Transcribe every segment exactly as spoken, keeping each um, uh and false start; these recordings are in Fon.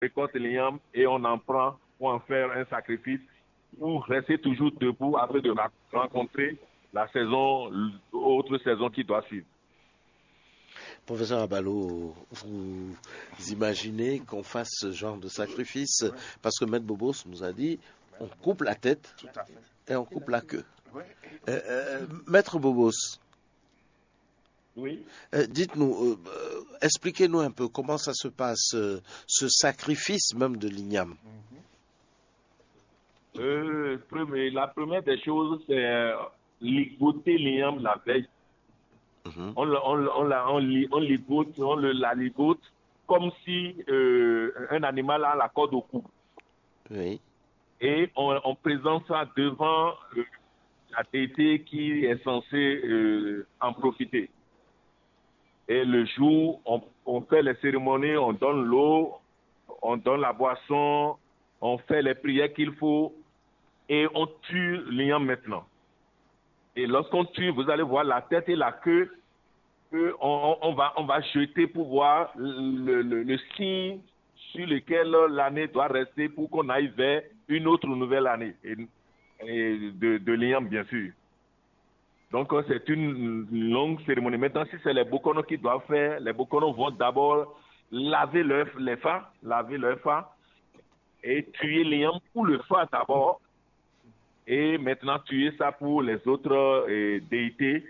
récolte l'igname et on en prend pour en faire un sacrifice, pour rester toujours debout afin de ra- rencontrer la saison, autre saison qui doit suivre. Professeur Abalo, vous imaginez qu'on fasse ce genre de sacrifice, parce que Maître Bobos nous a dit, on coupe la tête et on coupe la queue. Euh, euh, Maître Bobos, Oui. euh, dites-nous, euh, euh, expliquez-nous un peu comment ça se passe, euh, ce sacrifice même de l'igname. Euh, premier, la première des choses, c'est euh, ligoter l'igname la veille. Mhm. On, le- on, le- on, la- on, li- on ligote, on le, la ligote comme si euh, un animal a la corde au cou. Oui. Et on, on présente ça devant euh, la déité qui est censée euh, en profiter. Et le jour, on, on fait les cérémonies, on donne l'eau, on donne la boisson, on fait les prières qu'il faut et on tue l'igname maintenant. Et lorsqu'on tue, vous allez voir la tête et la queue que on, on- on va, on va jeter pour voir le, le- le signe sur lequel l'année doit rester pour qu'on aille vers une autre nouvelle année et, et de, de l'igname, bien sûr. Donc, euh, c'est une longue cérémonie. Maintenant, si c'est les Bokono qui doivent faire, les Bokono vont d'abord laver leur, les fa, laver leur fa et tuer l'igname pour le fa d'abord. Et maintenant, tuer ça pour les autres euh, déités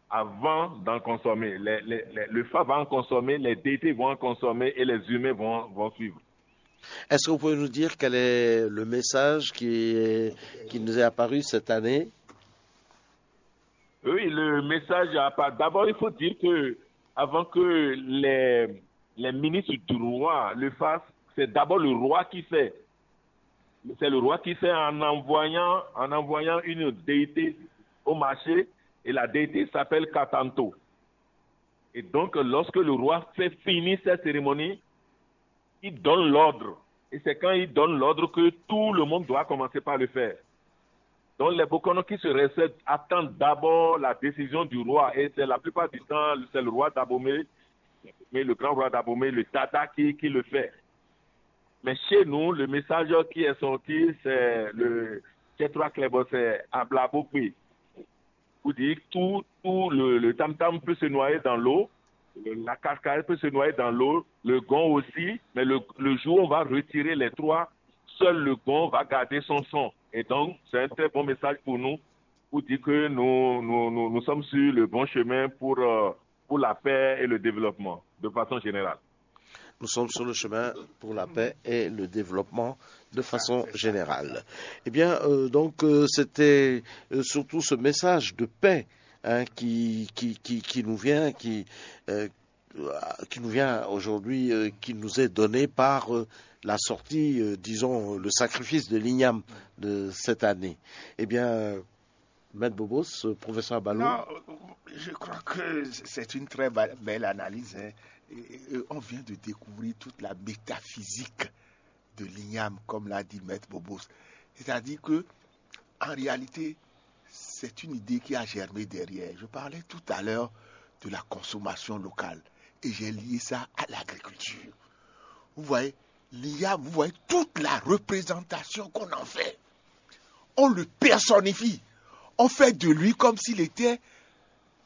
avant d'en consommer. Les- les- les- le fa va en consommer, les déités vont en consommer et les humains vont, vont suivre. Est-ce que vous pouvez nous dire quel est le message qui, est- qui nous est apparu cette année ? Oui, le message à part. D'abord, il faut dire que avant que les, les ministres du roi le fassent, c'est d'abord le roi qui fait. C'est le roi qui fait en envoyant, en envoyant une déité au marché et la déité s'appelle Katanto. Et donc, lorsque le roi fait finir cette cérémonie, il donne l'ordre. Et c'est quand il donne l'ordre que tout le monde doit commencer par le faire. Donc, les Bokono qui se récèdent attendent d'abord la décision du roi. Et c'est la plupart du temps, c'est le roi d'Abomey, mais le grand roi d'Abomey, le Tata, qui, qui le fait. Mais chez nous, le message qui est sorti, c'est le Tchétrois Klebo, c'est Ablabokwe. Vous dites tout, tout le, le tam-tam peut se noyer dans l'eau, le- la cascade peut se noyer dans l'eau, le gong aussi, mais le, le jour où on va retirer les trois, seul le gong va garder son son. Et donc, c'est un très bon message pour nous, pour dire que nous, nous, nous, nous sommes sur le bon chemin pour, euh, pour la paix et le développement, de façon générale. Nous sommes sur le chemin pour la paix et le développement de façon générale. Eh bien, euh, donc, euh, c'était euh, surtout ce message de paix, hein, qui, qui, qui, qui nous vient, qui, euh, qui nous vient aujourd'hui, euh, qui nous est donné par euh, la sortie, euh, disons, le sacrifice de l'igname de cette année. Eh bien, euh, Maître Bobos, euh, professeur Abalo. Non, je crois que c'est une très ba- belle analyse, hein. Et- et on vient de découvrir toute la métaphysique de l'igname, comme l'a dit Maître Bobos. C'est-à-dire que, en réalité, c'est une idée qui a germé derrière. Je parlais tout à l'heure de la consommation locale et j'ai lié ça à l'agriculture. Vous voyez, l'igname, vous voyez toute la représentation qu'on en fait. On le personnifie. On fait de lui comme s'il était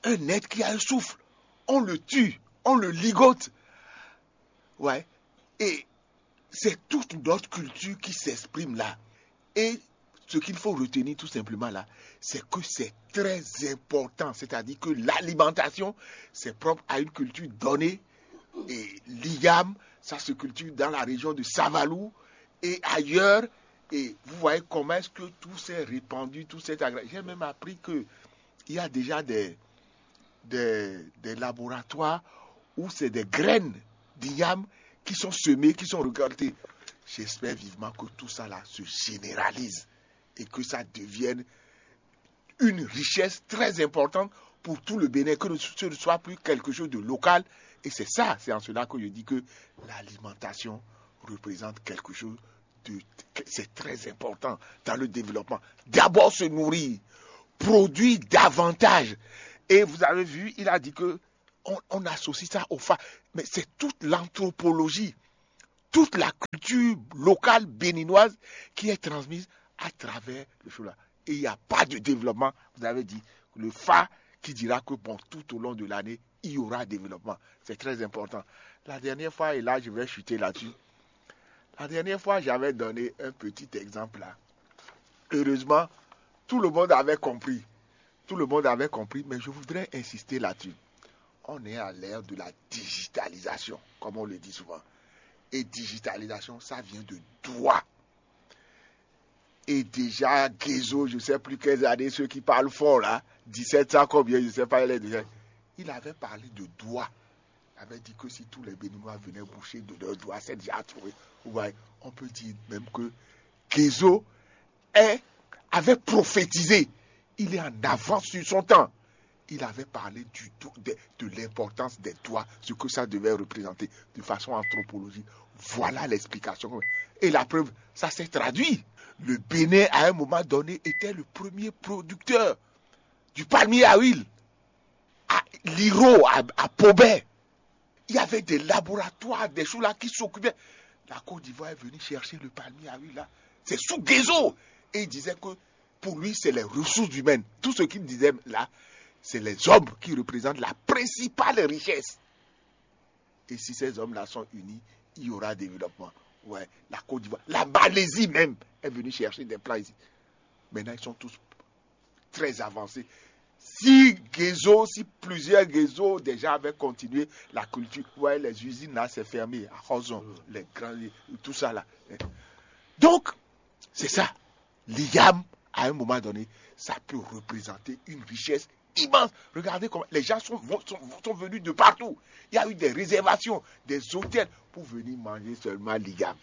un être qui a un souffle. On le tue, on le ligote. Ouais. Et c'est toute notre culture qui s'exprime là. Et ce qu'il faut retenir tout simplement là, c'est que c'est très important. C'est-à-dire que l'alimentation, c'est propre à une culture donnée. Et l'igname, ça se cultive dans la région de Savalou et ailleurs. Et vous voyez comment est-ce que tout s'est répandu, tout s'est agrandi. J'ai même appris que il y a déjà des, des, des laboratoires où c'est des graines d'igname qui sont semées, qui sont récoltées. J'espère vivement que tout ça là se généralise et que ça devienne une richesse très importante pour tout le Bénin, que ce ne soit plus quelque chose de local. Et c'est ça, c'est en cela que je dis que l'alimentation représente quelque chose de, c'est très important dans le développement. D'abord se nourrir, produire davantage. Et vous avez vu, il a dit que on, on associe ça au fa. Mais c'est toute l'anthropologie toute la culture locale béninoise qui est transmise à travers le shola. Et il n'y a pas de développement. Vous avez dit le fa qui dira que bon, tout au long de l'année, il y aura développement. C'est très important. La dernière fois, et là je vais chuter là-dessus, la dernière fois j'avais donné un petit exemple là. Heureusement, tout le monde avait compris. Tout le monde avait compris, mais je voudrais insister là-dessus. On est à l'ère de la digitalisation, comme on le dit souvent. Et digitalisation, ça vient de Douala. Et déjà, Guézo, je ne sais plus quelles années, ceux qui parlent fort là, dix-sept cents combien, je ne sais pas, il est déjà. Il avait parlé de Douala. Il avait dit que si tous les Béninois venaient boucher de leurs doigts, c'est déjà trouvé. Vous voyez, on peut dire même que Guézo est, avait prophétisé. Il est en avance sur son temps. Il avait parlé du, de, de l'importance des doigts, ce que ça devait représenter de façon anthropologique. Voilà l'explication. Et la preuve, ça s'est traduit. Le Bénin, à un moment donné, était le premier producteur du palmier à huile à Liro, à, à Pobé. Il y avait des laboratoires, des choses là qui s'occupaient. La Côte d'Ivoire est venue chercher le palmier à huile là. C'est sous Guézo. Et il disait que pour lui, c'est les ressources humaines. Tout ce qu'il disait là, c'est les hommes qui représentent la principale richesse. Et si ces hommes-là sont unis, il y aura développement. Ouais, la Côte d'Ivoire, la Malaisie même est venue chercher des plants ici. Maintenant, ils sont tous très avancés. Si Guézo, si plusieurs Guézo déjà avaient continué la culture, vous voyez, les usines là, c'est fermé, à Hozon, les grands, tout ça là. Donc, c'est ça. L'IAM, à un moment donné, ça peut représenter une richesse immense. Regardez comment les gens sont, sont, sont venus de partout. Il y a eu des réservations, des hôtels pour venir manger seulement l'IAM.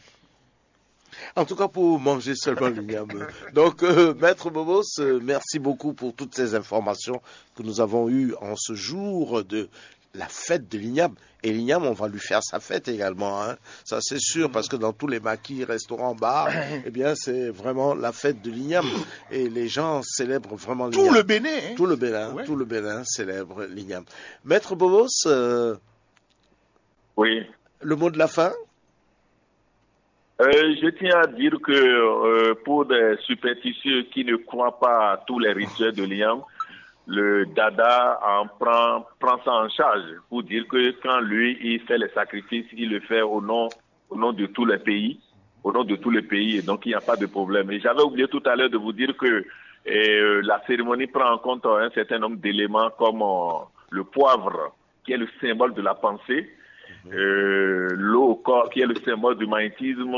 En tout cas, pour manger seulement l'igname. Donc, euh, Maître Bobos, euh, merci beaucoup pour toutes ces informations que nous avons eues en ce jour de la fête de l'igname. Et l'igname, on va lui faire sa fête également, hein. Ça c'est sûr, parce que dans tous les maquis, restaurants, bars, eh bien c'est vraiment la fête de l'igname. Et les gens célèbrent vraiment l'igname. Tout le Bénin, hein. Tout le Bénin, ouais. Tout le Bénin célèbre l'igname. Maître Bobos, euh, oui. Le mot de la fin. Euh, je tiens à dire que euh, pour des superstitieux qui ne croient pas à tous les rituels de l'igname, le dada en prend, prend ça en charge pour dire que quand lui, il fait les sacrifices, il le fait au nom, au nom de tous les pays, au nom de tous les pays, et donc il n'y a pas de problème. Et j'avais oublié tout à l'heure de vous dire que euh, la cérémonie prend en compte un certain nombre d'éléments comme euh, le poivre, qui est le symbole de la pensée, euh, l'eau au corps, qui est le symbole du magnétisme,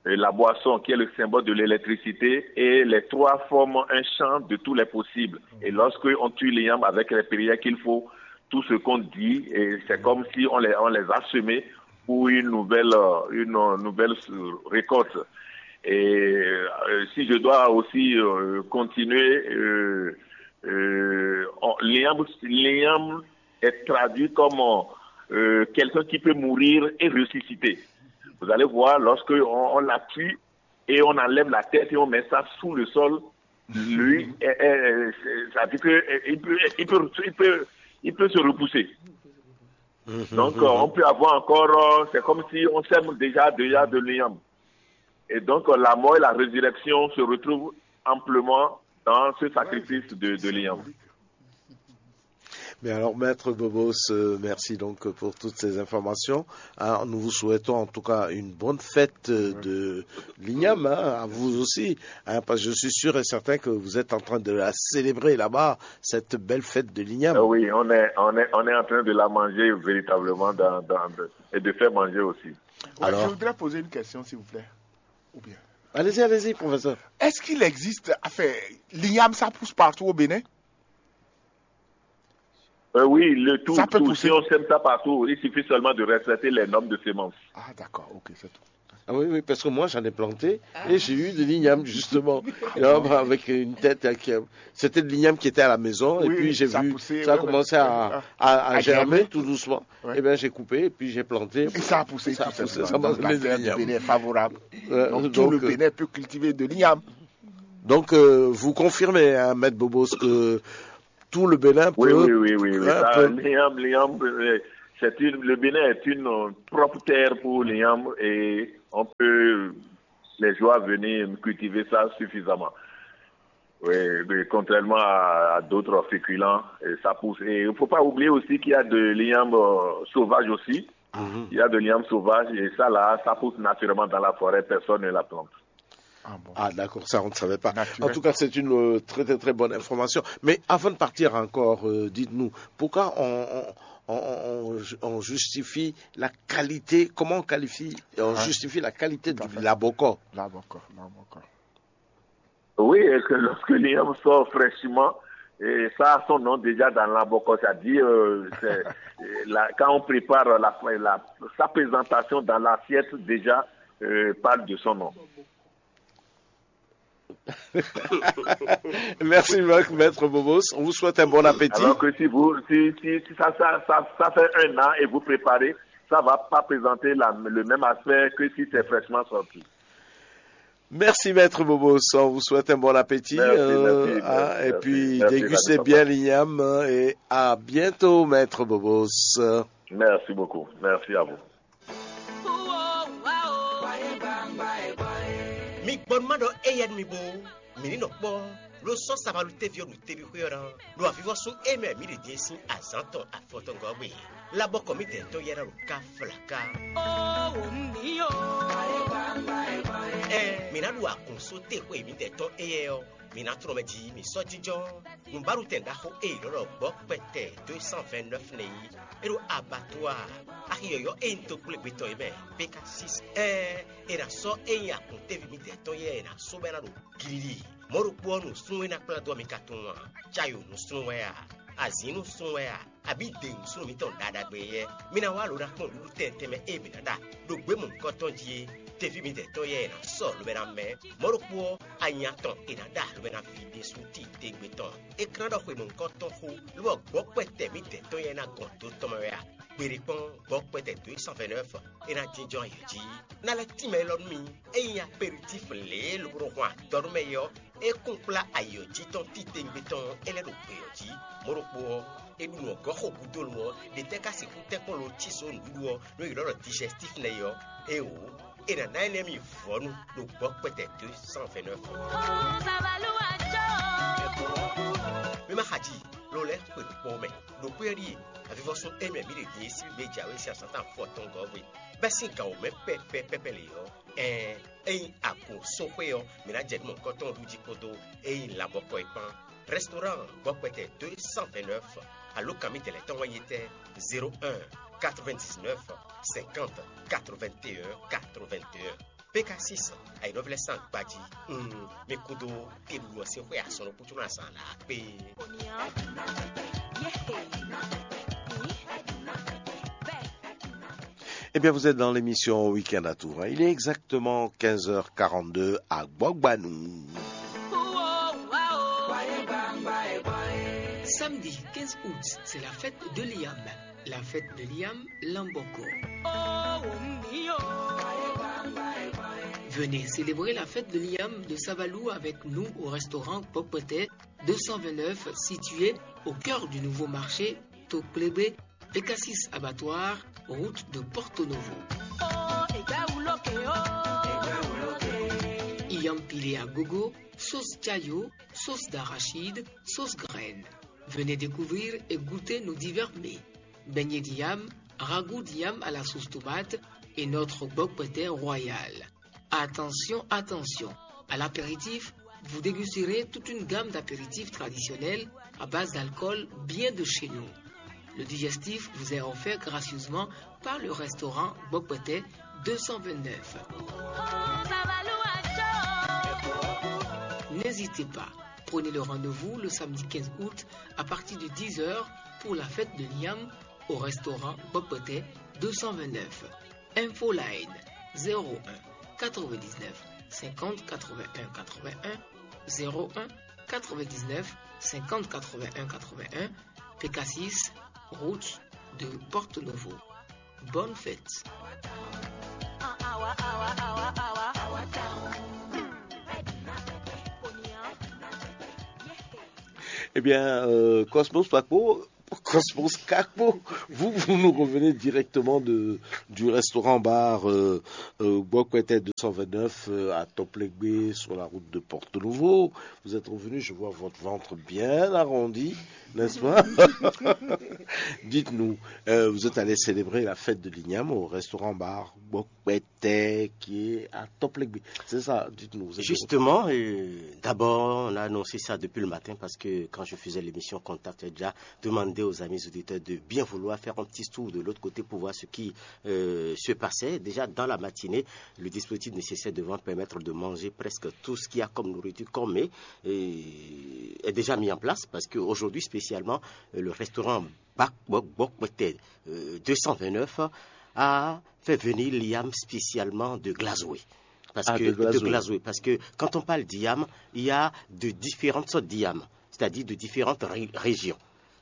et la boisson, qui est le symbole de l'électricité, et les trois forment un champ de tous les possibles. Et lorsqu'on tue l'igname avec les prières qu'il faut, tout ce qu'on dit, c'est comme si on les, on les a semés pour une nouvelle, une nouvelle récolte. Et euh, si je dois aussi euh, continuer, euh, euh, l'igname est traduit comme euh, quelqu'un qui peut mourir et ressusciter. Vous allez voir, lorsque on, on la tue et on enlève la tête et on met ça sous le sol, lui, ça veut dire qu'il peut, il peut, il peut, il peut, il peut se repousser. Donc, euh, on peut avoir encore, euh, c'est comme si on sème déjà, déjà de l'igname. Et donc, euh, la mort et la résurrection se retrouvent amplement dans ce sacrifice de, de l'igname. Mais alors, Maître Bobos, euh, merci donc pour toutes ces informations. Hein, nous vous souhaitons en tout cas une bonne fête euh, de l'igname, hein, à vous aussi, hein, parce que je suis sûr et certain que vous êtes en train de la célébrer là-bas, cette belle fête de l'igname. Euh, oui, on est, on est, on est en train de la manger véritablement dans, dans, et de faire manger aussi. Ouais, alors, je voudrais poser une question, s'il vous plaît. Ou bien. Allez-y, allez-y, professeur. Est-ce qu'il existe, enfin, l'igname, ça pousse partout au Bénin ? Euh, oui, le tout, ça peut tout. Pousser. Si on sème ça partout, il suffit seulement de respecter les normes de semence. Ah, d'accord, ok, c'est tout. Ah oui, oui, parce que moi j'en ai planté ah. Et j'ai eu de l'igname justement. Avec une tête qui, c'était de l'igname qui était à la maison oui, et puis j'ai vu ça a commencé à, à, à germer tout doucement. Ouais. Et bien j'ai coupé et puis j'ai planté. Et ça a poussé. Ça a poussé, ça m'a donné de l'igname. Est favorable. Euh, donc, donc, tout le euh, Bénin peut cultiver de l'igname. Donc euh, vous confirmez, hein, Maître Bobos, que tout le Bénin peut. Oui, oui, oui, oui. oui. Hein, ça, peut... L'igname, l'igname, euh, C'est une, le Bénin est une euh, propre terre pour l'igname et on peut les joueurs venir cultiver ça suffisamment. Oui, mais contrairement à, à d'autres féculents, et ça pousse. Et il ne faut pas oublier aussi qu'il y a de l'igname euh, sauvage aussi. Il y a de l'igname sauvage et ça là, ça pousse naturellement dans la forêt, personne ne la plante. Ah bon. Ah d'accord, ça on ne savait pas. Naturel. En tout cas, c'est une euh, très très très bonne information. Mais avant de partir encore, euh, dites-nous, pourquoi on, on, on, on justifie la qualité, comment on qualifie, on justifie la qualité du laboko ? Oui, et que lorsque l'igname sort fraîchement, et ça a son nom déjà dans l'aboko, c'est-à-dire euh, la, quand on prépare la, la, sa présentation dans l'assiette déjà euh, parle de son nom. Merci, maître Bobos. On vous souhaite un bon appétit. Alors que si vous, si, si, si ça, ça, ça, ça, fait un an et vous préparez, ça va pas présenter la, le même aspect que si c'est fraîchement sorti. Merci, maître Bobos. On vous souhaite un bon appétit. Merci, euh, merci, hein, et puis, merci, dégustez bien l'igname et à bientôt, maître Bobos. Merci beaucoup. Merci à vous. Mi gbɔ nú ma ɖɔ éyɛ́ nú mi bó, mǐ ní nɔ kpɔ́ ló sɔ́ sabalú téví ɔ́ ɖo teví xwé ɔ́ ná, ɖo avivɔ́sú émɛ mǐ ɖě din sín azǎn tɔn afɔtɔngɔ́ gbe. Labɔkɔ mǐdɛɛ tɔn yɛ́ ná ɖo ká flaká. Ɛ, mǐ ná ɖu agun só te xwe mǐdɛɛ tɔn éyɛ́ ɔ́, mǐ ná tlɔ́n mɛ jí mǐ sɔ́ jínjɔ́n. Nǔbáɖutɛn ɖaxó e è nɔ ɖɔ gbɔ̌ kpɛtɛ deux cent vingt-neuf nɛ́ yí. É ɖo abattoir axi yɔ̌yɔ́ e nyí toxwlégbetɔ́ é mɛ, Pékasis. Ɛɛ, è nǎ sɔ́ é nyí akun téví mǐdɛɛ tɔn yɛ́ è nǎ sɔ́ bɔ é ná ɖo glili. Mɔ̌ ɖokpó ɔ́, nǔsúnnú e ná kplá dó ɔ mi ka tunwun a? Cayo nǔsúnnú wɛ a? Azǐn nǔsúnnú wɛ a? Abǐ de nǔsúnnú mǐtɔn ɖaɖagbe yɛ́? Mi ná wá lǒ ná kpɔ́n nǔɖuɖu tɛntɛn mɛ e mǐ ná ɖa ɖo gbě mɔ̌hunkɔtɔn jí é. Teví mǐdɛɛ tɔn yɛ́ è nǎ sɔ́ lobɛ ná mɛ. Mɔ̌ ɖokpó ɔ́, anya tɔn è nǎ ɖa lobɛ ná ví ɖésú tíitégbe tɔn. É ka ná ɖɔ xwe mɔ̌hunkɔtɔn xó, lobɔ gbɔ̌ kpɛtɛ mǐdɛɛ tɔn yɛ́ ná gɔn dó tɔn mɛ wɛ a? Gbeɖé kpɔ́n, gbɔ̌ kpɛtɛ dǒ yi cent vingt-neuf é ná jínjɔ́n ayǐ jí. Ná lɛ́ tínmɛ élɔ́ nú mi, ényí aperitíf lě e lobo nɔ hɔn adɔ nú mɛ é ɔ́, é kún kplá ayǐ ɔ́ jí tɔn titewungbe tɔn é lɛ́ ɖo gbě ɔ́ jí. Mɔ̌ ɖokpó ɔ́, é ɖu nǔ ɔ́ gɔ́ xo gúdo lo ɔ́, ɖě tɛ́ ka sixú tɛ́nkpɔ́n lo cí só nǔɖuɖu ɔ́ nú è ylɔ́ ɖɔ dijɛstíf nɛ́ é ɔ́? Éeǒ, è nǎ ná énɛ́ mi vɔ̌nu ɖo gbɔ̌ kpɛtɛ dó cent vingt-neuf. Mi ma xa ji, lo lɛ́ xwe ɖokpó mɛ. Ɖokpó ɔ́ ɖíe avivɔ́sún émɛ mǐ ɖe din e sín gbé jǎwe sín azǎn tɔn afɔtɔngɔ́ gbe, bɛ́ sín gǎn wǒ mɛ pɛ́pɛ́ pɛ́pɛ́ lě ɔ́, ɛɛn, ényí agun sɔ́xwé ɔ́, mǐ ná jɛ nú mɔ̌hunkɔtɔn ɖu jí kpódó ényí labɔkɔ é kpán. Restaurant gbɔkpɛtɛ deux cent vingt-neuf, alo kan mǐtɛn lɛ́ tɔn wɛ nyí tɛ́? Zéro un, quatre-vingt-dix-neuf, cinquante, quatre-vingt-un, quatre-vingt-un. Pékasis, ayǐnɔ́vlɛ́ sín agbají. Mm, mi kúdó teɖuɖu ɔ́ sín xwé azɔn ɖokpó ná azǎn lǎ kpé. Eh bien, vous êtes dans l'émission Week-end à Tours, hein. Il est exactement quinze heures quarante-deux à Gbogbanou. Samedi quinze août, c'est la fête de l'Iam. La fête de l'Iam, Lamboko. Venez célébrer la fête de l'Iam de Savalou avec nous au restaurant Pokpete deux cent vingt-neuf, situé au cœur du nouveau marché Toklebe, Pécassis Abattoir, route de Porto Novo. Iam pilé à gogo, sauce chayo, sauce d'arachide, sauce graine. Venez découvrir et goûter nos divers mets. Beignet d'iam, ragoût d'iam à la sauce tomate et notre bokpete royal. Attention, attention. À l'apéritif, vous dégusterez toute une gamme d'apéritifs traditionnels à base d'alcool bien de chez nous. Le digestif vous est offert gracieusement par le restaurant Bokpete deux cent vingt-neuf. N'hésitez pas, prenez le rendez-vous le samedi quinze août à partir de dix heures pour la fête de l'Iam au restaurant Bokpete deux cent vingt-neuf. Infoline zéro un quatre-vingt-dix-neuf cinquante quatre-vingt-un quatre-vingt-un, zéro un quatre-vingt-dix-neuf cinquante quatre-vingt-un quatre-vingt-un, Pécassis, route de Porto Novo. Bonne fête. Eh bien, euh, Cosmos Paco, Cosmos Kakpo. Vous, vous nous revenez directement de, du restaurant bar euh, euh, Bokwete deux cent vingt-neuf euh, à Toplegbe sur la route de Porto Novo. Vous êtes revenu, je vois votre ventre bien arrondi, n'est-ce pas? Dites-nous, euh, vous êtes allé célébrer la fête de l'Igname au restaurant bar Bokwete qui est à Toplegbe. C'est ça, dites-nous. Vous êtes de retour. Justement, euh, d'abord, on a annoncé ça depuis le matin parce que quand je faisais l'émission Contact, j'ai déjà demandé aux amis auditeurs de bien vouloir faire un petit tour de l'autre côté pour voir ce qui euh, se passait. Déjà dans la matinée, le dispositif nécessaire devant permettre de manger presque tout ce qu'il y a comme nourriture, comme mets, euh, est déjà mis en place parce qu'aujourd'hui spécialement, euh, le restaurant Bak- Bok- Bokwete euh, deux cent vingt-neuf a fait venir l'Igname spécialement de Glazoué. Parce Ah, que de Glazoué. Glazoué, parce que quand on parle d'Igname, il y a de différentes sortes d'Igname, c'est-à-dire de différentes ré- régions.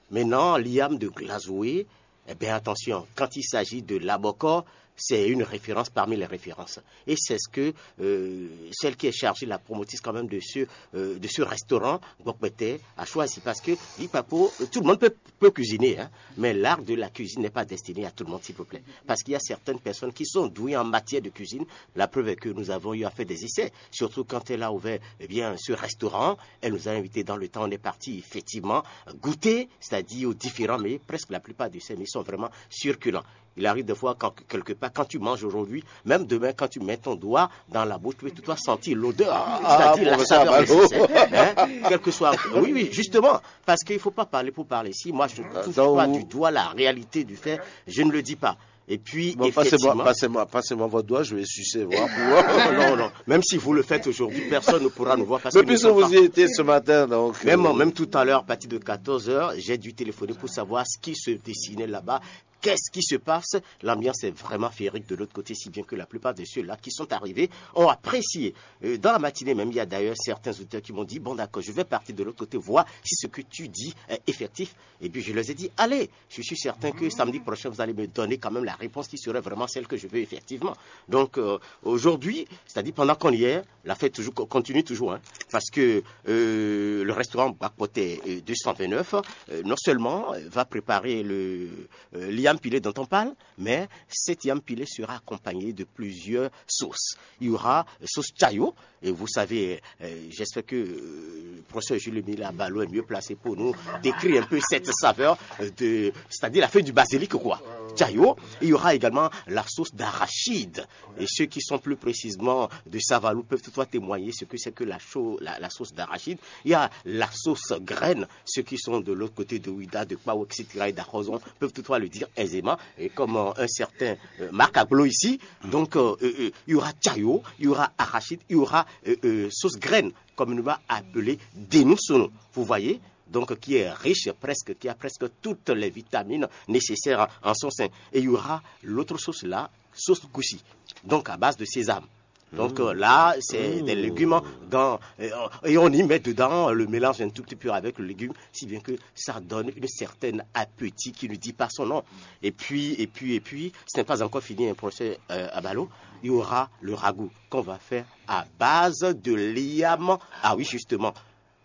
Maintenant, l'Igname de Glazoué, eh bien attention, quand il s'agit de l'Abokor, c'est une référence parmi les références. Et c'est ce que euh, celle qui est chargée, la promotrice quand même de ce, euh, de ce restaurant, Bokwete, a choisi. Parce que, dit Paco, tout le monde peut, peut cuisiner, hein, mais l'art de la cuisine n'est pas destiné à tout le monde, s'il vous plaît. Parce qu'il y a certaines personnes qui sont douées en matière de cuisine. La preuve est que nous avons eu à faire des essais. Surtout quand elle a ouvert eh bien, ce restaurant, elle nous a invités dans le temps, on est parti effectivement goûter, c'est-à-dire aux différents mets, presque la plupart de ces mets sont vraiment succulents. Il arrive des fois, quand, quelque part, quand tu manges aujourd'hui, même demain, quand tu mets ton doigt dans la bouche, tu peux tout sentir l'odeur, Ah, c'est-à-dire la professeur saveur Abalo. Nécessaire. Hein? Quel que soit. Oui, oui, justement. Parce qu'il ne faut pas parler pour parler. Si moi, je ne touche donc, pas vous- du doigt la réalité du fait, je ne le dis pas. Et puis, Bon, passez-moi, effectivement, passez-moi, passez-moi votre doigt, je vais sucer, voir. Pour... non, non. Même si vous le faites aujourd'hui, personne ne pourra nous voir parce Mais que nous puisque sommes vous pas- y étiez ce matin, donc. Même, euh, même tout à l'heure, à partir de quatorze heures, j'ai dû téléphoner pour savoir ce qui se dessinait là-bas. Qu'est-ce qui se passe? L'ambiance est vraiment féerique de l'autre côté, si bien que la plupart de ceux-là qui sont arrivés ont apprécié. Euh, dans la matinée même, il y a d'ailleurs certains auditeurs qui m'ont dit, bon d'accord, je vais partir de l'autre côté, voir si ce que tu dis est effectif. Et puis je leur ai dit, allez, je suis certain que samedi prochain, vous allez me donner quand même la réponse qui serait vraiment celle que je veux effectivement. Donc euh, aujourd'hui, c'est-à-dire pendant qu'on y est, la fête toujours, continue toujours, hein, parce que euh, le restaurant Bokwete euh, deux cent vingt-neuf, euh, non seulement euh, va préparer le euh, l'Igname pilé dont on parle, mais cet Igname pilé sera accompagné de plusieurs sauces. Il y aura euh, sauce chayo, et vous savez, euh, j'espère que euh, le professeur Jules Emile Abalo est mieux placé pour nous décrire un peu cette saveur, euh, de, c'est-à-dire la feuille du basilic, quoi. Chayo, il y aura également la sauce d'arachide. Et ceux qui sont plus précisément de Savalou peuvent toutefois témoigner ce que c'est que la, cho- la, la sauce d'arachide. Il y a la sauce graine. Ceux qui sont de l'autre côté de Ouidah, de Kpao, et cetera et d'Arozon peuvent toutefois le dire aisément. Et comme euh, un certain euh, Marc Aglo ici, donc euh, euh, euh, il y aura chayo, il y aura arachide, il y aura euh, euh, sauce graine, comme nous va appeler Denousono. Vous voyez, donc qui est riche presque, qui a presque toutes les vitamines nécessaires en son sein. Et il y aura l'autre sauce là, sauce goussi, donc à base de sésame. Donc euh, là, c'est des légumes dans, euh, et on y met dedans le mélange un tout petit peu avec le légume, si bien que ça donne une certaine appétit qui ne dit pas son nom. Et puis, et puis, et puis, ce n'est pas encore fini, un procès euh, à ballot. Il y aura le ragoût qu'on va faire à base de l'Igname. Ah oui, justement,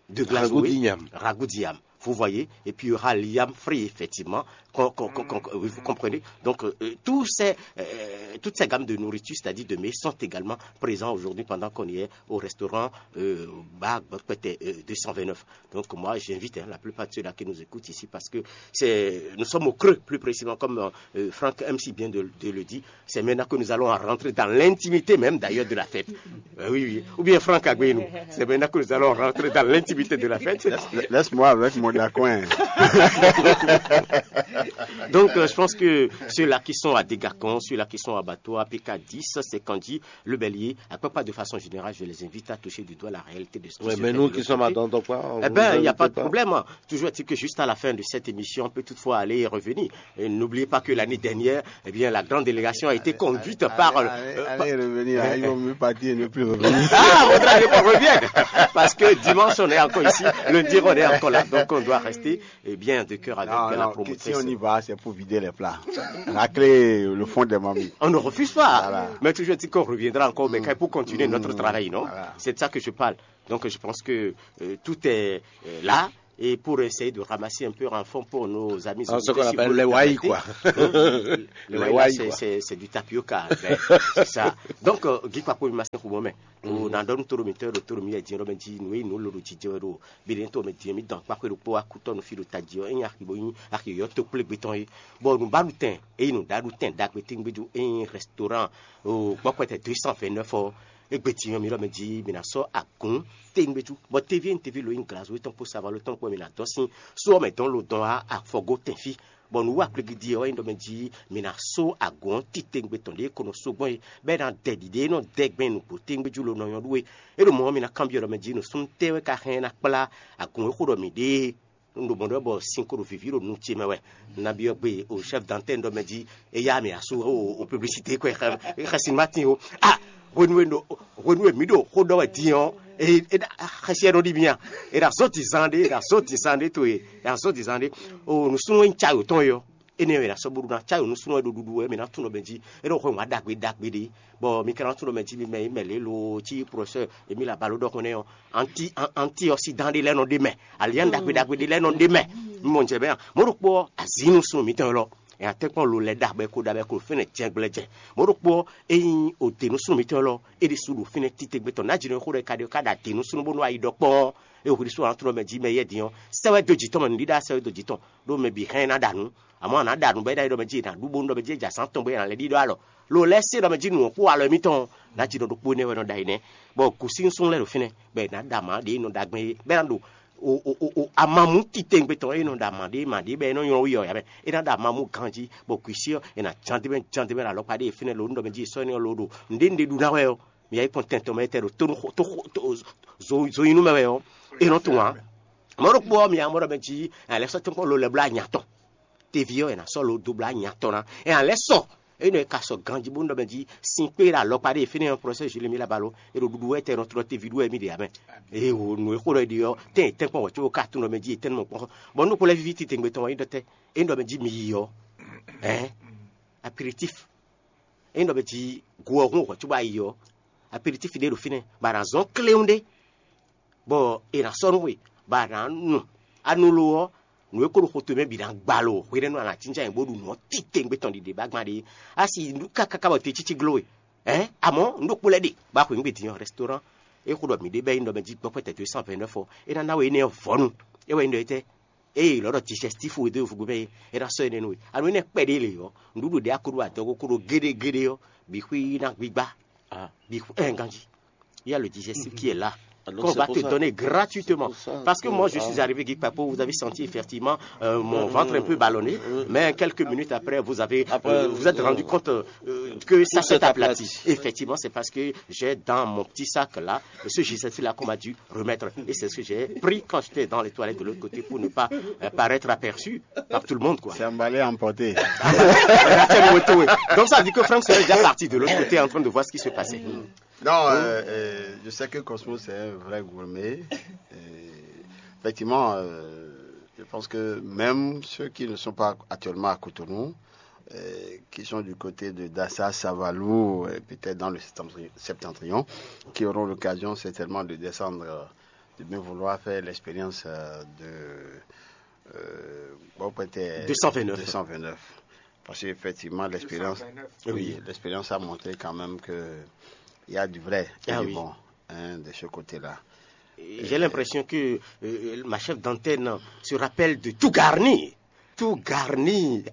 de Glazoué. Ragoût d'Igname. Ragoût d'Igname. Vous voyez, et puis il y aura l'Igname frit, effectivement. Qu'on- qu'on- qu'on- qu'on- oui, vous comprenez. Donc, euh, euh, tous ces, euh, toutes ces gammes de nourriture, c'est-à-dire de mets, sont également présents aujourd'hui pendant qu'on y est au restaurant euh, Bar Bokwete, euh, deux cent vingt-neuf. Donc, moi, j'invite hein, la plupart de ceux-là qui nous écoutent ici parce que c'est, nous sommes au creux, plus précisément, comme euh, Franck M C vient de, de le dire. C'est maintenant que nous allons rentrer dans l'intimité même d'ailleurs de la fête. Euh, oui, oui. Ou bien Franck Agbenou, c'est maintenant que nous allons rentrer dans l'intimité de la fête. Laisse-moi avec mon dacouin. Donc, euh, je pense que ceux-là qui sont à Dégacon, ceux-là qui sont à Bateau, à P K dix, c'est Candy, le Bélier, à peu près de façon générale, je les invite à toucher du doigt la réalité de ce qui Ouais, se mais fait nous de qui l'autre sommes à côté. Dantokwa, on Eh vous ben, il n'y a invite pas de problème. Toujours est-il que juste à la fin de cette émission, on peut toutefois aller et revenir. Et n'oubliez pas que l'année dernière, eh bien, la grande délégation a été conduite par... Allez, euh, allez, allez revenir. Hein, il vaut mieux partir et ne plus revenir. Ah, il faudra que je revienne. Parce que dimanche, on est encore ici. Lundi, on est encore là. Donc, on doit rester eh bien, de cœur avec Non, la non, promotrice. Si on y va, c'est pour vider les plats. Racler le fond des marmites. On ne refuse pas. Voilà. Mais toujours dit qu'on reviendra encore, mais pour continuer notre travail, non? Voilà. C'est de ça que je parle. Donc, je pense que euh, tout est euh, là. Et pour essayer de ramasser un peu en fonds pour nos amis, ah, ce qu'on appelle les wai, quoi. Les wai, là, c'est du tapioca. Ben, c'est ça. Donc, Guy Papo, il m'a fait un bon, mais on a donné tout le minteur, tout le minteur, dit, Robin, dit, nous, nous, le dit, Dieu, Bidɛn to mɛ din mi dɔn kpáxwé ɖokpó wá kú tɔnu fí ɖo tají ɔ́, é nyí axi bó nyí axi yɔ́ tó kplé gbé tɔn é. Bɔ nǔbaɖutɛn é nyí nǔɖaɖutɛn ɖagbe tɛ́ngbéjú é nyí restaurant gbɔkpɛtɛ deux cent vingt-neuf ɔ́, égbé din ɔ́ mi ɖɔ mɛ jí mi ná sɔ́ agǔn tɛ́ngbéjú. Bɔ teví e teví lo nyí glazo tɔn kpó savalo tɔn kpó mi ná dɔn sín só ɔ́ mɛ dɔn lo dɔn wá afɔgó tɛn fí. Bɔ nǔ wa gbligidi ɔ́ wɛ nyí ɖɔ mɛ jí mi ná só agǔn ɔ́ titewungbe tɔn ɖě ko nɔ só gbɔn é, bɔ é ná dɛ ɖiɖe e nɔ dɛ gbɛn nǔgbó tɛ́ngbéjú lo nɔ nyɔ́ ɖú é. É ɖo mɔ̌ ɔ́, mi ná kanbyɔ́ ɖɔ mɛ jí nǔsúnnú tɛ́ wɛ ka hɛn ná kplá agun e xo ɖɔ mǐ ɖe é. Un ɖo mɔ̌ ɖɔ bɔ sin ko ɖo vǐví ɖo nu ce mɛ wɛ. Un ná byɔ́ gbe o chef d'antenne ɖɔ mɛ jí éyá mǐ asú o publicité kɔ xɛsin má tin o. Ah, hwenu e ɖo hwenu e mǐ ɖo xó ɖɔ wɛ din ɔ́, xɛsi ɛ nɔ ɖi mì a? È ɖo azɔ̌ din zan ɖé, è ɖo azɔ̌ din zan ɖé to e, è ɖo azɔ̌ din zan ɖé. O nǔsúnnú e nyí cayǒ tɔn e ɔ́, énɛ́ wɛ è nǎ sɔ́ bóɖu ná cayǒ nǔsúnnú wɛ ɖo ɖuɖu wɛ mǐ ná tunwun ɖɔ mɛ jí é nɔ hwɛ wǎn ɖagbe ɖagbe ɖé. Bɔ mi ka ná tunwun ɖɔ mɛ jí mi mɛ yi mɛ lě lo cí professeur Emile Abalo ɖɔhun nɛ́ ɔ́, anti antiɔsidan ɖé lɛ́ɛ nɔ ɖe mɛ, alian ɖagbe ɖagbe ɖé lɛ́ɛ nɔ ɖe mɛ. Mi mɔ jɛ bɛ a mɔ̌ ɖokpó ɔ́, azǐ nǔsúnnú mǐtɔn élɔ́ è nǎ tɛ́nkpɔ́n lo lɛ́ ɖagbe ko ɖagbe ko fɛ́nɛ jɛgbɛlɛjɛ. Mɔ̌ ɖokpó ɔ́, ényí o de nǔsúnnú mǐtɔn élɔ́, é ɖésú ɖo fínɛ́ títégbe tɔn nǎjínɔ xó ɖɔ è ka ɖe ká ɖo ade nǔsúnnú bónú ayi ɖɔ kpɔ́n. É hwlí sú ɔ́, ná tunwun ɖɔ mɛ jí mɛ yɛ din ɔ́, sɛ́ wɛ dó jǐ tɔn mɛ nǔɖíɖá sɛ́ wɛ dó jǐ tɔn. Ɖó mɛ bǐ hɛn ná ɖa nǔ. Amɔ̌ a nǎ ɖa nǔ bɔ é ɖɔ mɛ jí è nǎ ɖu bónú ɖɔ mɛ jí è jɛ azǎn tɔn bɔ è nǎ lɛ́ ɖíɖɔ alɔ. Lo lɛ́ɛ se ɖɔ mɛ jí nǔ ɔ́ kpó alɔ émítɔn ɔ́, nǎ jí ɖɔ ɖokpó énɛ́ wɛ nɔ ɖa yi nɛ́, bɔ gǔsínsún lɛ́ɛ ɖo fínɛ́, bɔ è nǎ ɖa mǎ ɖě e nɔ ɖa gbɛn é, bɔ é ná ɖo o o o o amamú titewungbe tɔn e nɔ ɖa mǎ ɖě mǎ ɖě bɔ é nɔ nylɔ wú yɛ ɔ́, ɛ, é ná ɖa amamú ganjí, bɔ gǔsí ɔ́ è nǎ ján dé mɛ ján dé mɛ ɖo alɔkpa ɖé e fínɛ́ lo nú ɖɔ mɛ jí è sɔ́ énɛ́ ɔ́ lo ɖo nǔɖé nǔɖé ɖu ná wɛ ɔ́, mǐ yá yi kpɔ́n tɛn tɔn mɛ tɛ́ ɖo tónú xo tó xo tó zo zo nyi nú mɛ wɛ ɔ́, é nɔ tunwun ǎ. Mɔ̌ ɖokpó ɔ́, mi ǎ mɔ ɖɔ mɛ jí ɛ lɛ́ sɔ́ tɛ́nkpɔ́n lo lɛ́ bló anya tɔn. Teví ɔ́, è nǎ sɔ́ lo dó bló anya tɔn ná. Ɛ ǎ lɛ́ sɔ énɛ́ è ka sɔ ganjí bónú ɖɔ mɛ jí sin kpé ɖo alɔkpa ɖé e fínɛ́ ɔ́, professeur Julie Mila Balo, è ɖo ɖuɖu wɛ tɛ nɔ tlɔ teví ɖu wɛ mì ɖe ǎ mɛ. Eye wo nǔ e xó ɖɔ è ɖe ɔ́, tɛ́n è tɛ́nkpɔ́n wɛ̌ có ka tunwun ɖɔ mɛ jí è tɛ́n nɔ mɔ kpɔ́n. Bɔ nú kplɔ́ víví titewungbe tɔn ɔ́, é ɖɔ tɛ́ é ɖɔ mɛ jí mi yi ɔ́, ɛ̌, aperitif. É ɖɔ mɛ jí go ɔ́ hún hwɛ̌ có bá yi ɔ́, aperitif ɖé ɖo fínɛ́, bɔ a nǎ zɔ́n kléwún ɖé. Bɔ è nǎ sɔ́ nú we, bɔ a nǎ nu. A nu lo ɔ́, nǔ e ko ɖo xo towe mɛ bǐ ná gba lo, hwenɛ́nu a nǎ jínjɔ́n ayǐ bó ɖu nǔ ɔ́ titewungbe tɔn ɖiɖe bá gbán ɖe. A si nǔ káká ká bɔ te cící gló we. Ɛ̌, amɔ̌ nǔ ɖokpó lɛ́ɛ ɖe, bá xweyǐgbe din ɔ́, restaurant e xo ɖɔ mǐ ɖe bɛ́ nyí ɖɔ mɛ jí gbɔ́ pɛ́tɛ́ deux cent vingt-neuf ɔ́, é ná ná we énɛ́ ɔ́ vɔ̌nu. É wɛ nyí ɖɔ étɛ́? Ée lɔ̌ ɖɔ digestif we dó yovógbe mɛ é, é ná sɔ́ énɛ́ nú we. Anu énɛ́ kpɛɖé lě ɔ́, nǔɖuɖu ɖě a ko ɖo adɔgo ko ɖo géɖégéɖé ɔ́, bǐ xwí ná gbígbá. Bǐ xwí ɛn ganjí. Il y a le digestif qui est là. Qu'on va te donner gratuitement. Parce que moi, je suis arrivé, Guy Papo, vous avez senti effectivement euh, mon ventre un peu ballonné, mais quelques minutes après, vous avez, euh, vous êtes rendu compte euh, que ça s'est aplati. Effectivement, c'est parce que j'ai dans mon petit sac là, ce digestif là qu'on m'a dû remettre. Et c'est ce que j'ai pris quand j'étais dans les toilettes de l'autre côté pour ne pas euh, paraître aperçu par tout le monde, quoi. C'est emballé, emporté. Donc ça veut dire que Franck serait déjà parti de l'autre côté en train de voir ce qui se passait. Non, euh, euh, je sais que Cosmo, c'est un vrai gourmet. Et effectivement, euh, je pense que même ceux qui ne sont pas actuellement à Cotonou, euh, qui sont du côté de Dassa, Savalou, et peut-être dans le septentri- septentrion, qui auront l'occasion certainement de descendre, euh, de bien vouloir faire l'expérience euh, de euh, bon, peut-être 229. 229. Parce qu'effectivement, l'expérience, oui, l'expérience a montré quand même que il y a du vrai et du bon hein, de ce côté-là. Et j'ai l'impression que euh, ma chef d'antenne se rappelle de Tougarni. Tougarni.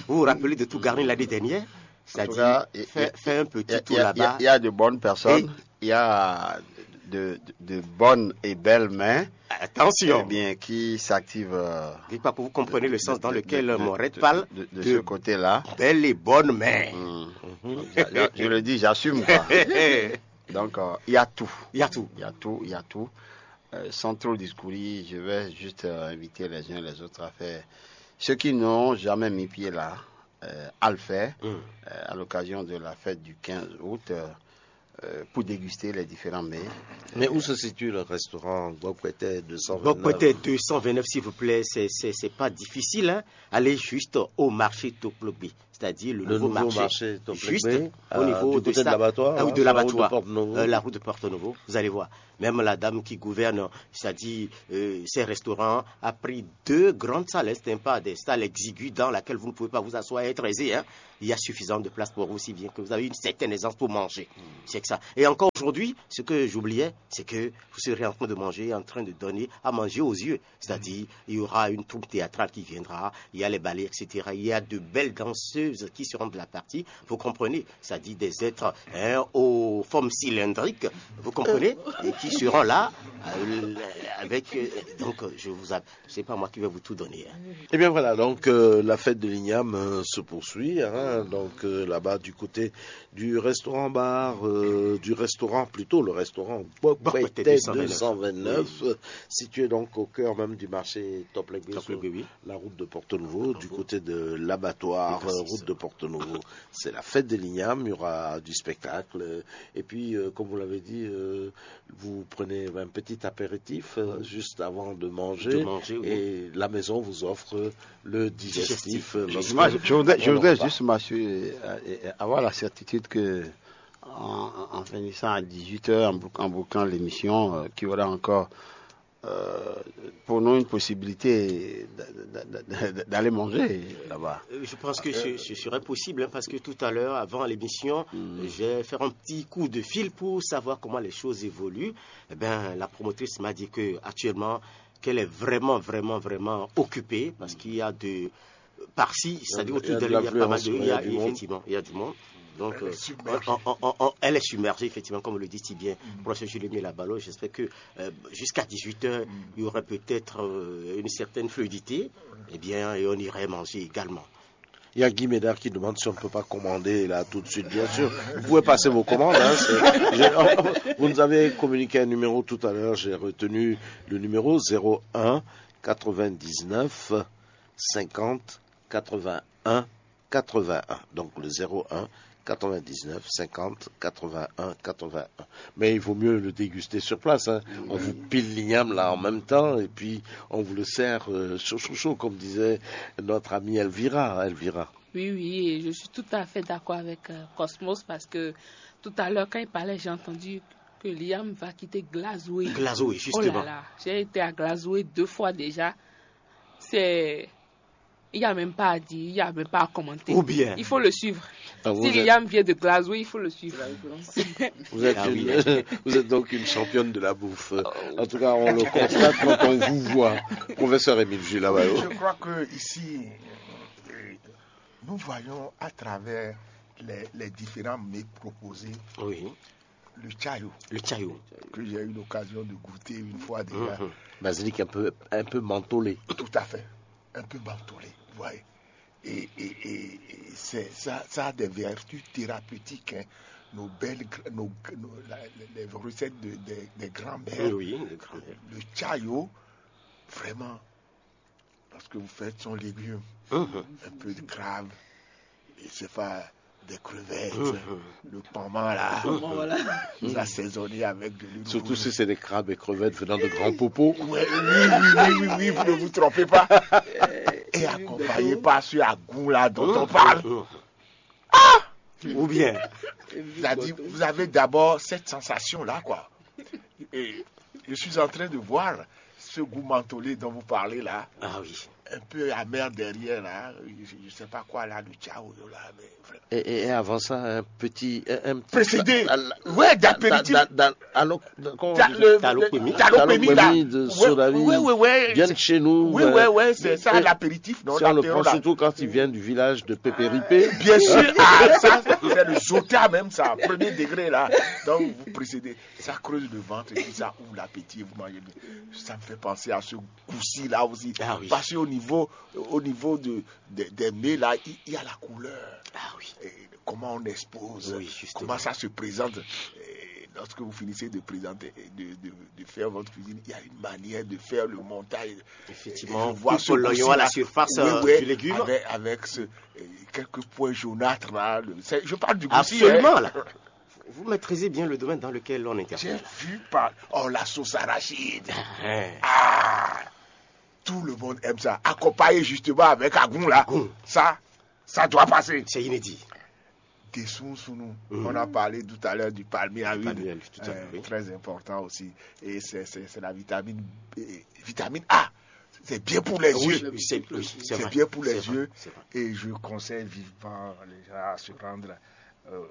Vous vous rappelez de Tougarni l'année dernière? C'est-à-dire, fait, un petit tour là-bas. Il y a de bonnes personnes, il y a de, de, bonnes et belles mains. Attention. Eh bien, qui s'activent. Euh, Dites pas que vous comprenez le sens dans lequel Moret parle de, ce côté-là. Belles et bonnes mains. Mm. Je, je le dis, j'assume quoi. Donc, euh, il y a tout. Il y a tout. Il y a tout, il y a tout. Euh, sans trop discourir, je vais juste euh, inviter les uns et les autres à faire. Ceux qui n'ont jamais mis pied là, euh, à le faire euh, à l'occasion de la fête du quinze août euh, euh, pour déguster les différents mets. Mais où se situe le restaurant Gbokpete deux cent vingt-neuf? Gbokpete deux cent vingt-neuf, s'il vous plaît, c'est, c'est, c'est pas difficile. Hein? Allez juste au marché Toplogbe. c'est-à-dire le nouveau marché, juste au niveau de l'abattoir, la route de Porto Novo. Vous allez voir. Même la dame qui gouverne, c'est-à-dire ces restaurants, a pris deux grandes salles, c'est pas des salles exiguës dans laquelle vous ne pouvez pas vous asseoir et être aisé. Hein. Il y a suffisamment de place pour vous, si bien que vous avez une certaine aisance pour manger. C'est que ça. Et encore aujourd'hui, ce que j'oubliais, c'est que vous serez en train de manger, en train de donner à manger aux yeux. C'est-à-dire, il y aura une troupe théâtrale qui viendra, il y a les ballets, et cetera. Il y a de belles danseuses qui seront de la partie, vous comprenez, c'est-à-dire des êtres, hein, aux formes cylindriques, vous comprenez, et qui seront là, euh, avec, euh, donc, je vous, a- c'est pas moi qui vais vous tout donner. Hein. Eh bien voilà, donc euh, la fête de l'igname euh, se poursuit, hein, donc euh, là-bas du côté du restaurant bar, euh, du restaurant plutôt, le restaurant Bokwete deux cent vingt-neuf, euh, situé donc au cœur même du marché Top Legué, sur la route de Porto Novo, du côté de l'abattoir, euh, route de Porto Novo. C'est la fête de l'igname, il y aura du spectacle. Et puis, euh, comme vous l'avez dit, euh, vous prenez un petit apéritif euh, juste avant de manger. Et la maison vous offre le digestif. Moi, je voudrais, juste m'assurer, euh, avoir la certitude que en, en finissant à dix-huit heures, en, bouc- en bouclant l'émission, euh, qu'il y aura encore euh, pour nous une possibilité d- d- d- d- d'aller manger là-bas. Euh, Je pense que ce, ce serait possible, hein, parce que tout à l'heure, avant l'émission, je vais faire un petit coup de fil pour savoir comment les choses évoluent. Eh bien, la promotrice m'a dit que actuellement, qu'elle est vraiment, vraiment, vraiment occupée parce qu'il y a de par-ci, c'est-à-dire autour d'elle, il y a pas mal de, il y a, effectivement, il y a du monde. Donc, euh, on- on- on- on- elle est submergée, effectivement, comme le dit si bien professeur Julien Labalo. J'espère que euh, jusqu'à dix-huit heures, il y aurait peut-être euh, une certaine fluidité. Eh bien, et on irait manger également. Il y a Guy Médard qui demande si on ne peut pas commander là tout de suite. Bien sûr, vous pouvez passer vos commandes. Hein, c'est- je- vous nous avez communiqué un numéro tout à l'heure. J'ai retenu le numéro zéro un quatre-vingt-dix-neuf cinquante quatre-vingt-un quatre-vingt-un. Donc le zéro un quatre-vingt-dix-neuf cinquante quatre-vingt-un quatre-vingt-un. Mais il vaut mieux le déguster sur place. Hein. On vous pile l'igname là en même temps et puis on vous le sert euh, chaud, chaud, chaud, comme disait notre amie Elvira. Elvira. Oui, oui, et je suis tout à fait d'accord avec euh, Cosmos parce que tout à l'heure, quand il parlait, j'ai entendu que Liam va quitter Glasgow. Glasgow, justement. Oh là là, j'ai été à Glasgow deux fois déjà. C'est Il n'y a même pas à dire, il n'y a même pas à commenter. Ou bien. Il faut le suivre. Ah, vous Si êtes- Liam vient de Glasgow, il faut le suivre. Vous êtes, Ah oui. Une- vous êtes donc une championne de la bouffe. En tout cas, on le constate quand on vous voit. Professeur Émile Jules Lavallo. Je crois que ici, euh, nous voyons à travers les, les différents mets proposés Oui. Le chayo, Le chayo. Que j'ai eu l'occasion de goûter une fois déjà. Mhm. Basilic un peu, un peu mentholé. Tout à fait. Un peu mentholé, vous voyez. Et, et- et- et c'est- ça, ça a des vertus thérapeutiques. Hein. Nos belles, gr- nos, nos- la- les recettes de- des- des grands-mères. Oui, oui, le grand-mère. Le chayo, vraiment, parce que vous faites son légume, Mhm. Un peu de crabe, et c'est pas des crevettes, Mhm. Le paman là, Bon, voilà. Vous assaisonnez avec de l'huile Surtout rouge. Si c'est des crabes et crevettes venant de grands popos. Ouais, oui, oui, oui, oui, oui, vous ne vous trompez pas. Et accompagné par ce agou là dont on parle. Mhm. Ou bien, C'est-à-dire, vous avez d'abord cette sensation là, quoi. Et je suis en train de voir ce goût mentholé dont vous parlez là. Ah oui. Un peu amer derrière là. Je ne sais pas quoi là, le chao là. Mais vraiment. Et, et- et avant ça, un petit. Un, un petit Précédé. Dans- dans- Ouais, d'apéritif. Dans- dans- dans- alors, comment on Dans dit le- Talopémie. Talopémie, là. Talopémie de Ouais, soda ouais, ouais, ouais. Viennent chez nous. Oui, euh, ouais, ouais, c'est et- ça, et l'apéritif, non, si on le l'apéro, prend là. Surtout quand il vient du village de Pépéripé. Bien sûr, ah, ça, c'est le jota même, ça, premier degré, là. Donc, vous précédez, ça creuse le ventre, et puis ça ouvre l'appétit, vous mangez bien. Ça me fait penser à ce goût-ci, là aussi. Ah oui. Parce qu'au niveau, au niveau de, de- des mets, là, il il y a la couleur. Ah oui. Et comment on expose, Oui, justement. Comment ça se présente. Et lorsque vous finissez de présenter, de, de- de faire votre cuisine, il y a une manière de faire le montage. Effectivement, Et je vois coupe ce l'oignon à la goût-ci, là. Surface, Oui, euh, ouais, du légume. Avec, avec ce, euh, quelques points jaunâtres, là. Le- c'est- je parle du goût-ci, Absolument, hein. Là. Vous maîtrisez bien le domaine dans lequel on intervient. J'ai vu par. Oh, la sauce arachide. Hein. Ah, tout le monde aime ça. Accompagné justement avec agou, là. Agou. Ça, Ça doit passer. C'est inédit. Des sous-sous-nous. On a parlé tout à l'heure du palmier à huile. Palmier à huile, tout à fait, oui. Très important aussi. Et c'est, c'est, c'est la vitamine B, vitamine A. C'est bien pour les yeux. C'est bien pour les yeux. Et je conseille vivement les gens à se rendre euh,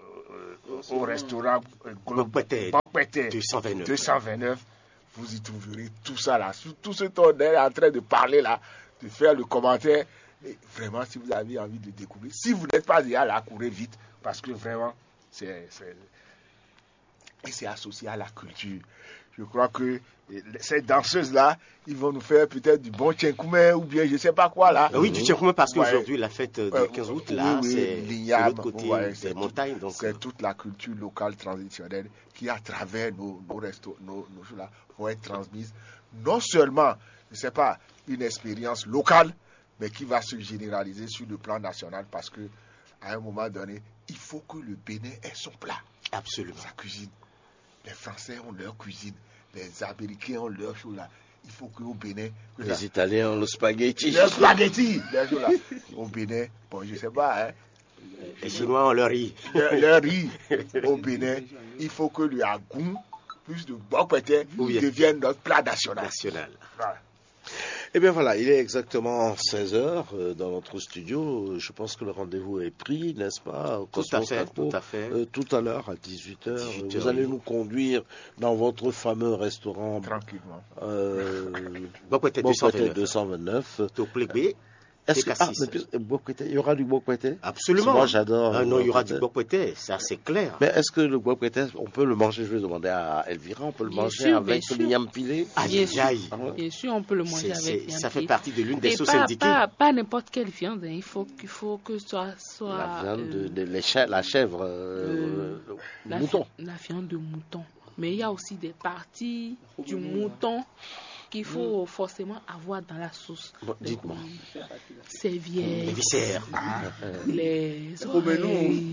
au restaurant euh, Bokpete deux cent vingt-neuf. Vous y trouverez tout ça là. Tout ce qu'on est en train de parler là, de faire le commentaire. Et vraiment, si vous avez envie de découvrir, si vous n'êtes pas déjà là, courez vite. Parce que vraiment, c'est, c'est, et c'est associé à la culture. Je crois que euh, ces danseuses-là, ils vont nous faire peut-être du bon tchenkoumé ou bien je sais pas quoi là. Ah oui, du tchenkoumé parce qu'aujourd'hui, la fête du quinze août, là, c'est de l'autre côté des montagnes. Donc c'est toute la culture locale traditionnelle qui, à travers nos, nos restos, nos, nos choses là, vont être transmises. Non seulement, je sais pas, une expérience locale, mais qui va se généraliser sur le plan national parce que, à un moment donné, il faut que le Bénin ait son plat. Absolument. Sa cuisine. Les Français ont leur cuisine. Les Américains ont leur chose là. Il faut qu'au Bénin, que les Italiens ont le spaghetti. Le spaghetti, bien sûr, là. Au Bénin, bon, je sais pas, hein. Les Chinois ont leur riz. Leur, leur riz. Au Bénin, il faut que le agou, plus de bokpete, devienne notre plat national. National. Voilà. Eh bien voilà, il est exactement seize heures euh, dans notre studio. Je pense que le rendez-vous est pris, n'est-ce pas, Cosmos Capo ? Tout à fait, tout à fait. Euh, tout à l'heure à dix-huit heures, vous allez nous conduire dans votre fameux restaurant. Tranquillement. Euh, Bokpete deux cent vingt-neuf. Est-ce que, ah, mais puis, euh, bokpete, il y aura du bokpete ? Absolument. Moi, j'adore. Ah non, il y aura du bokpete, ça c'est clair. Mais est-ce que le bokpete, on peut le manger ? Je vais demander à Elvira, on peut le manger avec l'igname pilé ? Aïe, aïe, aïe. Bien sûr, on peut le manger avec l'igname pilé. Ça fait partie de l'une des sauces indiquées. Pas, pas n'importe quelle viande, hein. Il faut, il faut que ce soit, soit la viande de, euh, de la chèvre, euh, le mouton. La viande de mouton. Mais il y a aussi des parties du mouton qu'il faut forcément avoir dans la sauce. Bon, dites-moi. Serviette, les viscères, les oreilles,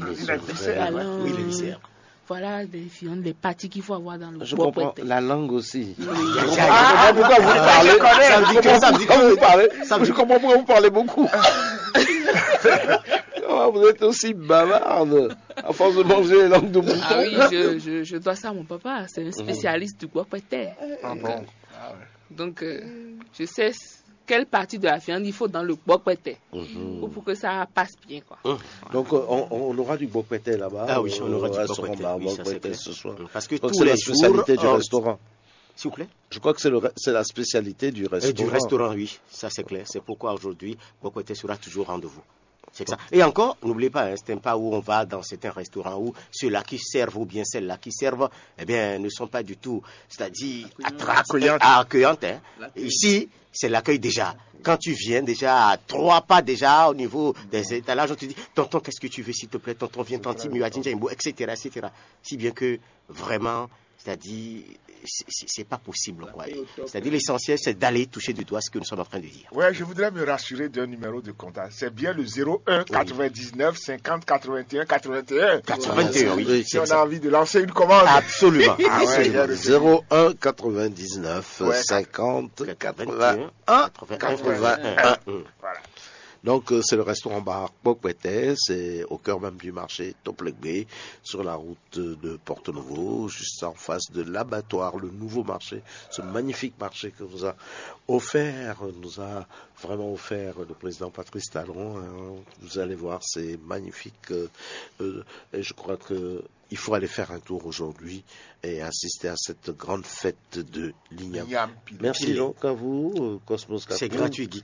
la langue. Oui, les viscères. Voilà, les viandes, les parties qu'il faut avoir dans le bokpete. Je comprends la langue aussi. Je comprends pourquoi vous parlez. Je comprends pourquoi vous parlez beaucoup. Oh, vous êtes aussi bavarde. À force de manger les langues de mouton. Ah oui, je, je, je dois ça à mon papa. C'est un spécialiste du bokpete. Ah bon ? Donc, euh, je sais quelle partie de la viande il faut dans le bokpete pour, pour que ça passe bien, quoi. Donc, euh, on, on aura du bokpete là-bas. Ah oui, on aura du bokpete, oui, ça, c'est clair. Ce soir. Parce que tous les jours, c'est la spécialité du restaurant. S'il vous plaît ? Je crois que c'est le re-, c'est la spécialité du restaurant. Et du restaurant, oui, ça c'est clair. C'est pourquoi aujourd'hui, bokpete sera toujours au rendez-vous. C'est ça. Et encore, n'oubliez pas, hein, c'est un pas où on va dans certains restaurants où ceux-là qui servent ou bien celles-là qui servent, eh bien, ne sont pas du tout, c'est-à-dire accueillantes, hein. Ici, c'est l'accueil déjà. Quand tu viens déjà à trois pas déjà au niveau des étalages, on te dit, tonton, qu'est-ce que tu veux, s'il te plaît, tonton, viens, tanti, miwa, jinja, imbo, et cetera, et cetera. Si bien que vraiment, c'est-à-dire, c'est, c'est, c'est pas possible, quoi. C'est-à-dire, l'essentiel, c'est d'aller toucher du doigt ce que nous sommes en train de dire. Ouais, je voudrais me rassurer d'un numéro de contact. C'est bien le zéro un quatre-vingt-dix-neuf cinquante quatre-vingt-un quatre-vingt-un. quatre-vingt-un, oui. Si on a envie de lancer une commande. Absolument. Ah ouais, absolument. Zéro un quatre-vingt-dix-neuf cinquante quatre-vingt-un quatre-vingt-un. Voilà. Donc, euh, c'est le restaurant bar Bokpete, c'est au cœur même du marché Toplegbe, sur la route de Porto-Novo, juste en face de l'abattoir, le nouveau marché, ce magnifique marché que nous a offert, nous a vraiment offert le président Patrice Talon, hein. Vous allez voir, c'est magnifique. Euh, euh, et je crois que il faut aller faire un tour aujourd'hui et assister à cette grande fête de l'igname. Merci donc à vous, euh, Cosmos Capo, qui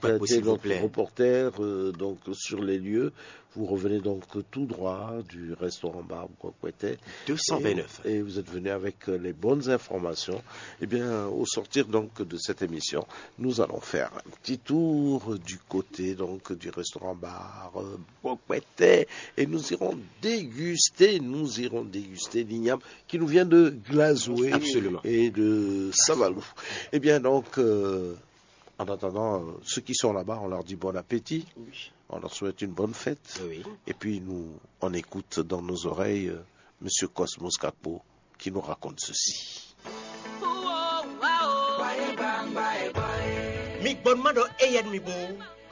a été notre reporter, euh, donc, sur les lieux. Vous revenez donc tout droit du restaurant Bar Bokpete. Deux cent vingt-neuf. Et, et vous êtes venu avec, euh, les bonnes informations. Eh bien, au sortir donc de cette émission, nous allons faire un petit tour du côté donc du restaurant Bar, euh, Bokpete et nous irons déguster, nous irons déguster l'igname qui nous vient de Glazoué et de Savalou. Eh bien donc, euh, en attendant, euh, ceux qui sont là-bas, on leur dit bon appétit, on leur souhaite une bonne fête. Et puis nous, on écoute dans nos oreilles, euh, Monsieur Cosmos Capo qui nous raconte ceci. Mi gbɔn ma ɖɔ eyɛn mi bo,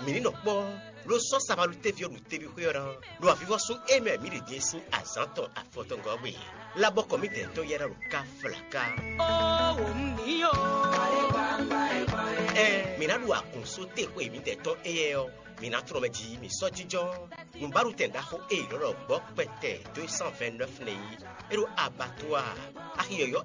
mi ni nɔ kpɔ. Ɖó sɔ́ sabalú téví ɔ́ ɖo teví xwé ɔ́ ná, ɖo avivɔ́sún e mɛ mǐ ɖe din é sín azǎn tɔn afɔtɔngɔ́ gbe. Labɔkɔ mǐdɛɛ tɔn yɛ́ ná ɖo ká flaká. Ɛɛ, mǐ ná ɖu agun só te xwe mǐdɛɛ tɔn éyɛ́ ɔ́, mǐ ná tlɔ́n mɛ jí mǐ sɔ́ jínjɔ́n nǔbáɖutɛn ɖaxó e è nɔ ɖɔ gbɔ̌ kpɛtɛ deux cent vingt-neuf nɛ́ é. É ɖo abattoir, axi yɔ̌yɔ́